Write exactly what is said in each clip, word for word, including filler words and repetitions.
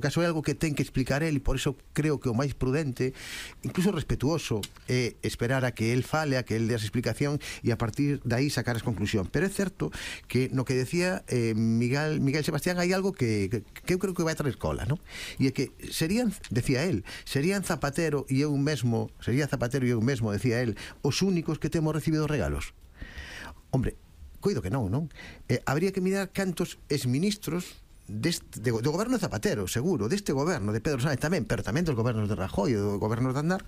caso é algo que ten que explicar el, e por iso creo que o máis prudente, incluso respetuoso, é esperar a que el fale, a que el dé a explicación e a partir de aí sacar as conclusión. Pero é certo que no que decía eh, Miguel, Miguel Sebastián hai algo que, que, que eu creo que vai traer cola, ¿no? E é que serían, decía el, serían Zapatero e eu mesmo, sería Zapatero e eu mesmo, decía el, os únicos que temos recibido regalos. Hombre, coido que non, non? Eh, habría que mirar cantos exministros Deste, de, do goberno de Zapatero, seguro, deste goberno de Pedro Sánchez tamén, pero tamén dos gobernos de Rajoy e do goberno de Aznar,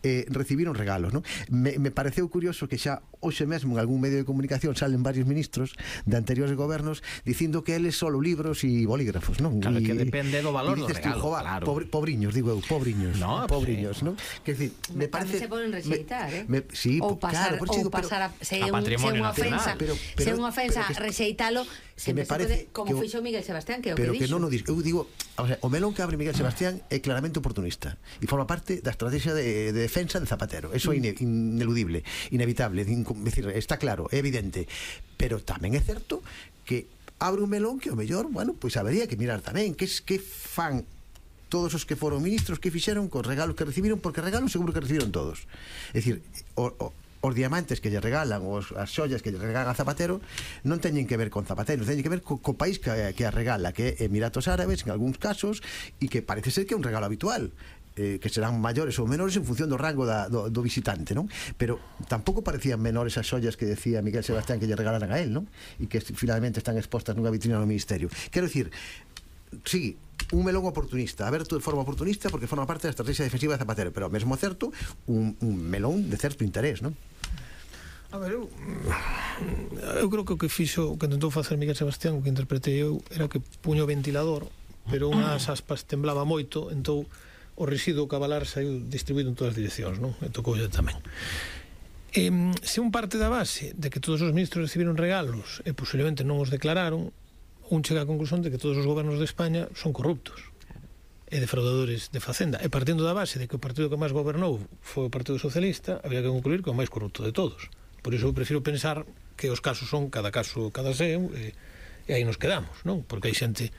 eh, recibiron regalos, non? Me, me pareceu curioso que xa hoxe mesmo en algún medio de comunicación salen varios ministros de anteriores gobernos dicindo que eles solo libros e bolígrafos, non? Claro, y, que depende do valor do tú, regalo, joa, claro. Pobre, pobriños, digo eu, pobriños, no, pobriños, sí. non? Que decir, me parece se poden rexeitar, eh? Me, sí, ou pasar, claro, ou digo, pasar a, se a un, patrimonio unha ofensa, nacional. Pero, pero, se unha ofensa pero que, rexeitalo, sempre me parece se pode, como que, fixo Miguel Sebastián, que é o pero que, que dixo. non o dixo. Eu digo, o sea, o melón que abre Miguel Sebastián é claramente oportunista e forma parte da estrategia de, de defensa de Zapatero. Eso é ine, ineludible, inevitable, in, decir, está claro, é evidente, pero tamén é certo que abre un melón que o mellor, bueno, pois pues habería que mirar tamén que, que fan todos os que foron ministros, que fixeron cos regalos que recibiron, porque regalos seguro que recibiron todos. É dicir, o, o os diamantes que lle regalan, os, as xollas que lle regalan a Zapatero non teñen que ver con Zapatero, teñen que ver co, co país que, que a regala, que é Emiratos Árabes en algúns casos, e que parece ser que é un regalo habitual, eh, que serán maiores ou menores en función do rango da, do, do visitante, non? Pero tampouco parecían menores as xollas que decía Miguel Sebastián que lle regalaran a él, non? E que finalmente están expostas nunha vitrina no Ministerio. Quero dicir, sí, un melón oportunista, aberto de forma oportunista porque forma parte da estrategia defensiva de Zapatero, pero ao mesmo certo un, un melón de certo interés, non? A ver, eu, eu creo que o que fixo, o que tentou facer Miguel Sebastián, o que interpretei eu, era que puño o ventilador, pero unhas aspas temblaba moito, entón o residuo cabalar saiu distribuído en todas as direccións, non? E tocoulle tamén. E, se un parte da base de que todos os ministros recibiron regalos e posiblemente non os declararon, un chega a conclusión de que todos os gobernos de España son corruptos e defraudadores de Facenda, e partindo da base de que o partido que máis gobernou foi o Partido Socialista, habría que concluir que é o máis corrupto de todos. Por iso eu prefiro pensar que os casos son cada caso cada seu, e, e aí nos quedamos, non? Porque hai xente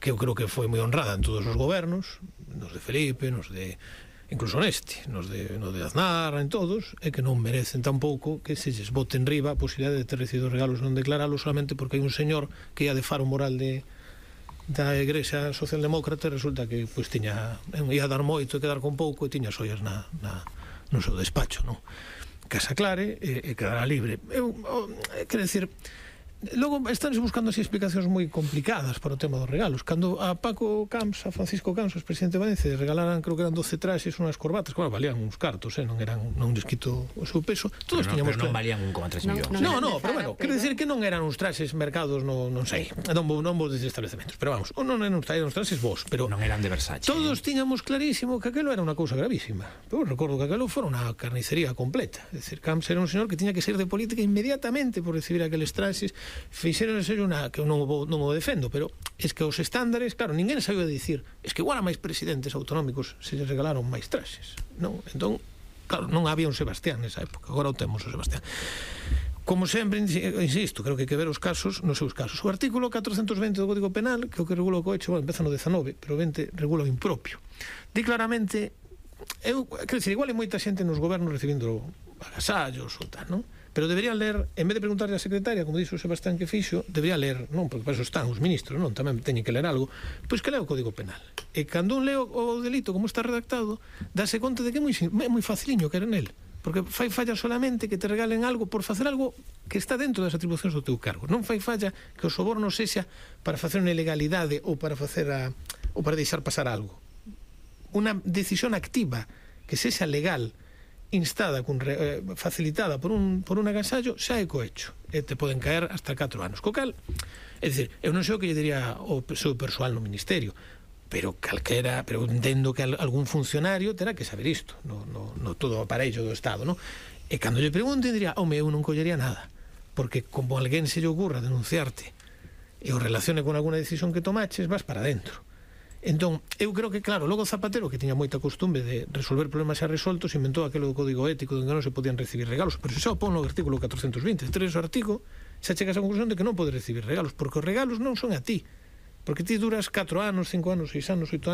que eu creo que foi moi honrada en todos os gobernos, nos de Felipe, nos de incluso neste, nos de, nos de Aznar, en todos, e que non merecen tampouco que se lles bote en riba a posibilidade de ter recibido regalos non declaralos solamente porque hai un señor que ia de faro moral de da Igrexa Socialdemócrata e resulta que pois tiña, ia dar moito e quedar con pouco e tiña xoias na, na, no seu despacho, non? Casa clare e, e quedará libre. Eu, o, quero decir, logo estánse buscando así explicacións moi complicadas para o tema dos regalos. Cando a Paco Camps, a Francisco Camps, o presidente de Valencia, regalaran, creo que eran doce traxes, unhas corbatas, claro, valían uns cartos, eh? non eran, non les quito o seu peso. Todos pero tiñamos no, pero non claro. valían un coma tres millóns. No, no, pero bueno, quero dicir que non eran uns traxes mercados, no, non sei, non vou, non vou desde establecementos, pero vamos, non eran uns, eran uns traxes vos, pero non eran de Versace. Todos tiñamos clarísimo que aquelo era unha cousa gravísima. Pero recordo que aquelo fora unha carnicería completa. É dicir, Camps era un señor que tiña que sair de política inmediatamente por recibir aqueles traxes. Fixeron una que eu non o, non o defendo, pero es que os estándares, claro, ninguén sabía dicir, es que igual a máis presidentes autonómicos se lles regalaron máis traxes, non? Entón, claro, non había un Sebastián nesa época, agora o temos o Sebastián. Como sempre, insisto, creo que hai que ver os casos nos seus casos. O artículo catrocentos vinte do Código Penal, que é o que regula o cohecho, bueno, empeza no dezanove, pero vinte regula o impropio. Di claramente, eu, quero dicir, igual hai moita xente nos gobernos recibindo agasallos ou tal, non? Pero deberían ler, en vez de preguntarle á secretaria, como dixo o Sebastián que fixo, debería ler, non, porque para eso están os ministros, non, tamén teñen que ler algo, pois que lea o Código Penal. E cando un leo o delito como está redactado, dáse conta de que é moi, é moi faciliño que era nel, porque fai falla solamente que te regalen algo por facer algo que está dentro das atribucións do teu cargo. Non fai falla que o soborno sexa para facer unha ilegalidade ou para facer a, ou para deixar pasar algo. Unha decisión activa que sexa legal, instada, con, eh, facilitada por un, por un agasallo, xa é cohecho e te poden caer hasta catro anos. Co cal, é dicir, eu non sei o que lle diría o seu persoal no ministerio, pero calquera, pero entendo que algún funcionario terá que saber isto no, no, no todo o aparello do Estado, non? E cando lle pregunten diría, home, eu non collería nada, porque como alguén se lle ocurra denunciarte e o relacione con alguna decisión que tomaches, vas para dentro. Entón, eu creo que, claro, logo Zapatero, que tiña moita costumbre de resolver problemas xa resoltos, inventou aquilo do código ético onde non se podían recibir regalos, pero se xa o pon no artículo catrocentos vinte, tres o artigo, xa chegas a conclusión de que non podes recibir regalos, porque os regalos non son a ti, Porque ti duras catro anos, cinco anos, seis anos, oito anos